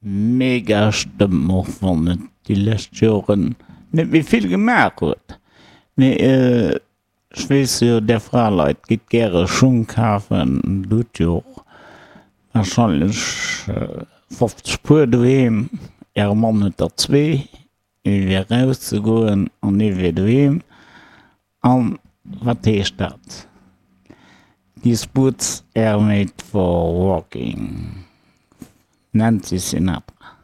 Mega Stëmm, och wann et déi lescht Joren net méi vill gemaach huet. Mee ech weess jo, där Fraleit gitt gäre Schung kafen, Dir hutt jo och warscheinlech 50 Puer doheem, Äre Mann huet der zwee, ee fir erauszegoen an ee fir doheem. An wat heescht dat? These boots are made for walking. Nancy Sinatra.